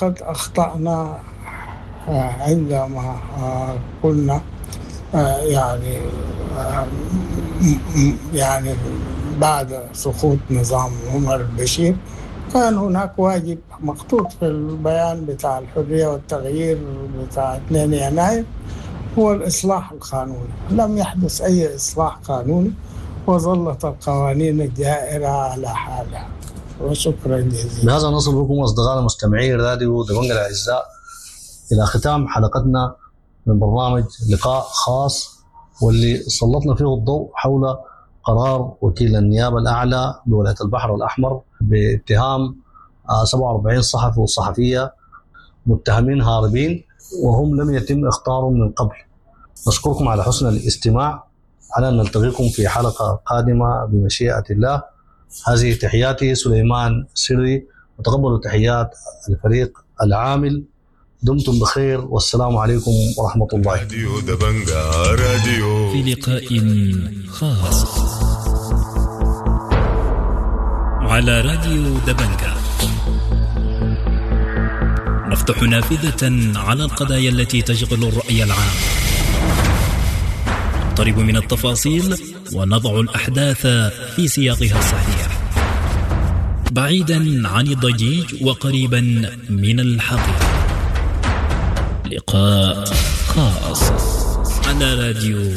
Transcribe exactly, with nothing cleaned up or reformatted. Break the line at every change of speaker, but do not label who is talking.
قد أخطأنا عندما قلنا يعني يعني بعد سقوط نظام عمر البشير كان هناك واجب مخطوط في البيان بتاع الحرية والتغيير بتاع اثنين يناير هو الإصلاح القانوني. لم يحدث أي إصلاح قانوني وظلت القوانين الجائرة على حالها. وشكرا جزيلا.
بهذا نصل بكم أصدقائنا مستمعي راديو دبنقا الأعزاء إلى ختام حلقتنا من برنامج لقاء خاص، واللي سلطنا فيه الضوء حول قرار وكيل النيابة الأعلى بولاية البحر الأحمر باتهام، آه، سبعة وأربعين صحفي وصحفية متهمين هاربين وهم لم يتم اخطارهم من قبل. نشكركم على حسن الاستماع، على أن نلتقيكم في حلقة قادمة بمشيئة الله. هذه تحياتي سليمان سري، وتقبلوا تحيات الفريق العامل. دمتم بخير والسلام عليكم ورحمة الله.
راديو دبنقا راديو
في لقاء خاص على راديو دبنقا نفتح نافذة على القضايا التي تشغل الرأي العام، نقترب من التفاصيل ونضع الأحداث في سياقها الصحيح، بعيدا عن الضجيج وقريبا من الحقيقة. لقاء خاص على راديو